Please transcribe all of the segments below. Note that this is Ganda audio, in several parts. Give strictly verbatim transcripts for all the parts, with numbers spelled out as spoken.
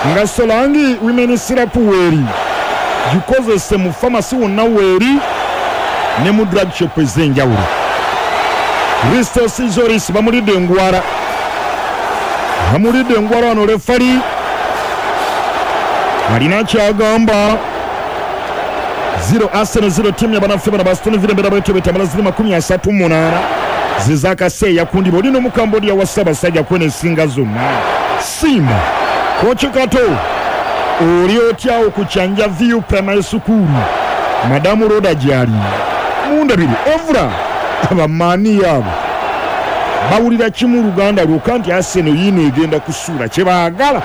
Nga Solangi women syrup weeri gikozese mu famasi wonna weeri ne mu drug shop ez'enjawulo. Christos Zoris bamulidde engwara, bamulidde engwara wano. Refari alina kyagamba. Zero Arsenal zero timu yabanaffe bano ba Aston Villa. Embeera bwetyo betamala ziri makumi asatu munaana zezakaseeya kundi oli n'Omukambodia wa Ssaabasajja kwena esinga zonna. Simba Koki Kato, oli otyawo ku Kyanja View Primary School? Madamu Roda gyali mundabiri ovula abamaani abo bawulira kimu Luganda lwokka nti Arsenal yiino egenda kusuula kyebaagala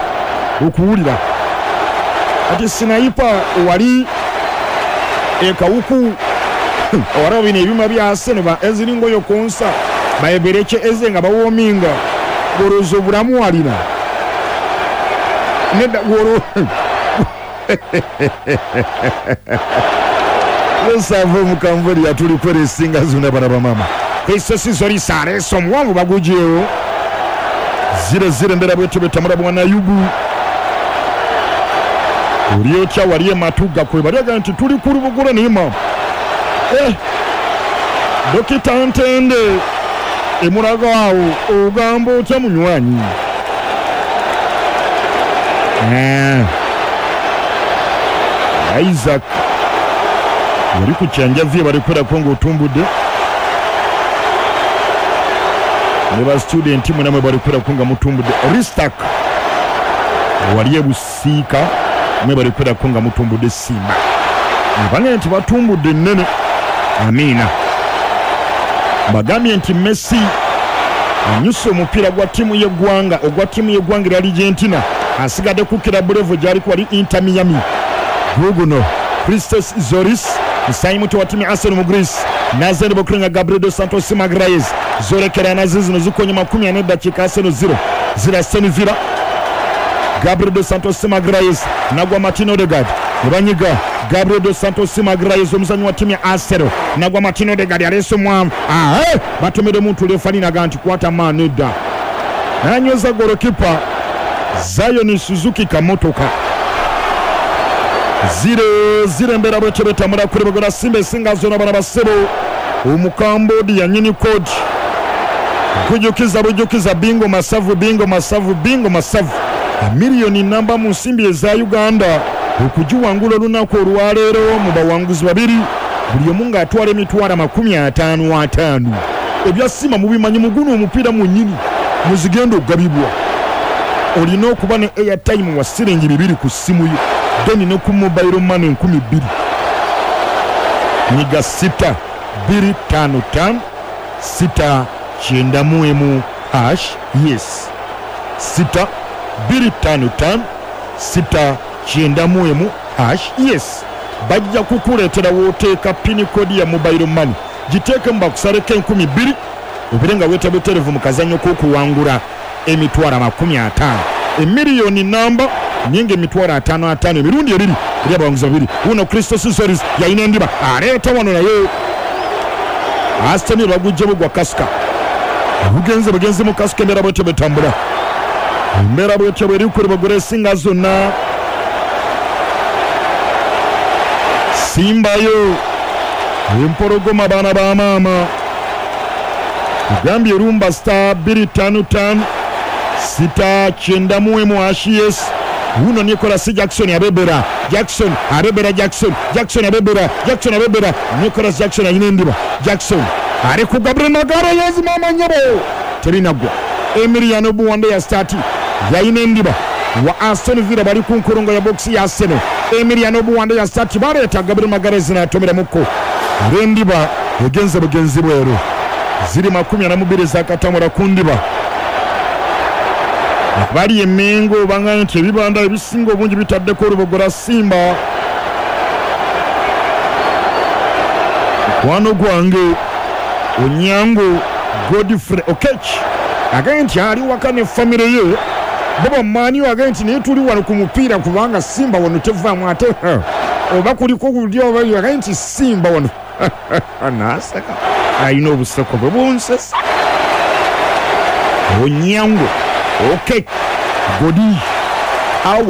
okuwulira. Ati sinayipa wali ekawuku owalaba bino ebyuma bya Arsenal ba eziringoyo konsa baebereke eze nga bawominga gorozo obulamu alina nedda goro lesava omukamveri yatulikwera esinga zonna bana bamama. Christos Zoris aleese omuwanvu bagugyewo. Zero zero embeera bwetyo betamula. Bwana Yubu, oli otya wali ematuga kwe balyaga nti tuli ku lubugula naye mama eh, Dokita Ntende emulaga awo, ogamba otya munywanyi? Eh. Isaac wali ku Kyanjavye balikwerako ng'otumbudde ne ba student mwe balikwerako nga mutumbudde. Ristak wali ebusiika mwe balikwerako nga mutumbudde. Simba abange nti batumbudde ennene. Amiina. Bagambye nti Messi anyuse omupiira gwa ttiimu y'eggwanga ogwa ttiimu y'eggwanga erya Argentina, asigadde kukira bulevu gy'aliko wali Inter Miami. Guguno Christos Zoris musayi muto wa ttiimu ya Arsenal mu Greece nazende bokulenga Gabriel dos Santos Magalhaes zolekera nazo zino zikonye makumi ane eddakiika. Arsenal zero zero Aston Villa. Gabriel dos Santos Magalhaes nagwa Martin Odegaard ne banyiga. Gabriel dos Santos Magalhaes omuzanyi wa ttiimu ya Arsenal nagwa Martin Odegaard aleese omwamu ae batomedde omuntu lefaninaga nti kwata maani edda nanyweza golokipa Zion Suzuki kamotoka. Zero zero embeera bwetyo betamula kuli bagola Simba esinga zonna bana basebo. Omukambodi nyini kodi kujukiza bujukiza bingo masavu, bingo masavu, bingo masavu, miliyoni namba mu nsimbi eza Uganda okugiwangula olunaku olwaleero mu bawanguzi babiri, buli omu ng'atwala emitwalo amakumi ataano ataano. Ebya Simba mubimanyi, muguno omupiira munnyini muzigenda okugabibwa olina okuba ne airtime wa siringi bibiri ku ssimu yo, then ne ku mobile money enkumi bbiri. Nyiga sita bbiri ttaano ttaano sita kyenda mu emu hash. Yes, sita bbiri ttaano ttaano sita kyenda mu emu hash. Yes, bajja kukuleetera w'oteeka pin code ya mobile money, giteekemu bakusaleko enkumi bbiri obere nga weetaba butereevu mu kazannyo k'okuwangula emitwalo amakumi ataano, emiliyoni namba nyingi, emitwalo ataano ataano emirundi ebiri eri abawanguzi babiri. Wuno Christos Zoris yalina endiba aleeta wano naye Aston bagujjemu gwa kasika bugenze bugenze mu kasika. Embeera bwetyo bwetambula, embeera bwetyo bweri kuli bagula esinga zonna. Simbayo empologoma baana ba maama kugambye erumba star bbiri ttaano ttaano sita kyenda mu emu hash. Yes, wuno Nicolas Jackson abebera, Jackson abebera, Jackson, Jackson abebera, Jackson abebera. Nicolas Jackson alina endiba, Jackson ali ku Gabriel Magalhaes, mama nyabo terinagwa. Emiliano Buwande ya stati yalina endiba wa Aston Villa bali ku nkulungo ya box ya Arsenal. Emiliano Buwande ya stati baleeta Gabriel Magalhaes n'atomera mukko endiba egenze bugenzi bweru. Ziri makumi ana mu bbiri zakatamula ku ndiba. Bali emengo banga nti ebibanda ebisinga obungi bitaddeko olubogola Simba. Mukwano gwange Onyango Godfrey Okech agambye nti ali waka ne famire ye bo bamaani, agambye nti naye tuli wano ku mupiira kubanga Simba wano tevaamu ate oba kuliko kulya oba, agambye nti Simba wano naseka alina obuseko bwe bunsesa. Onyango Okech Godi awa.